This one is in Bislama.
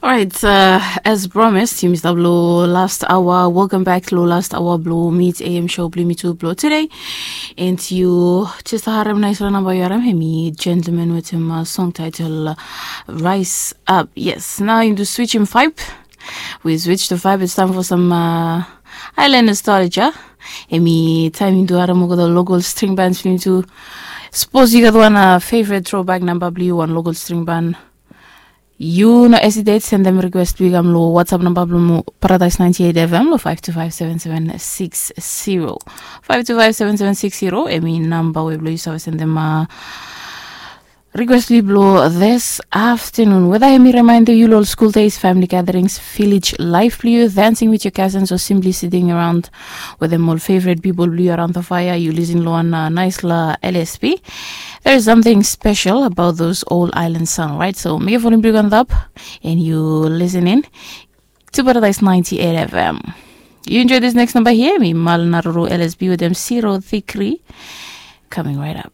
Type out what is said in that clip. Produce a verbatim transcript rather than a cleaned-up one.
Alright, uh, as promised, yumi stap lo last hour. Welcome back lo last hour blo Mid A M show blo yumi tu blo today. And yu just harem naispela namba yu harem, hemi Gentleman wetem uh, song title uh, Rise Up. Yes, nao yumi tu switch him vibe. We switch the vibe. It's time for some uh, island nostalgia. Hemi taem yumi tu harem olgeta local string bands blo yumi tu. Sapos yu gat wan uh, favorite throwback namba blo yu, wan local string band, yu no hesitate, sendem request blo yu kam lo WhatsApp namba blo Paradise ninety-eight F M lo five two five seven seven six zero. Five two five seven seven six zero, hemi namba we blo yu save sendem uh, request blo yu blo this afternoon. Whether hemi remind yu lo school days, family gatherings, village life blo yu, dancing with your cousins, or simply sitting around wetem ol favorite people blo yu around the fire, yu listen lo wan uh, nice la L S P. There is something special about those old island sound, right? So make volume blo yu go on top and yu listen in to Paradise ninety-eight F M. You enjoy this next number here, mi Mal Naruru L S B with them Zero Decree. Coming right up.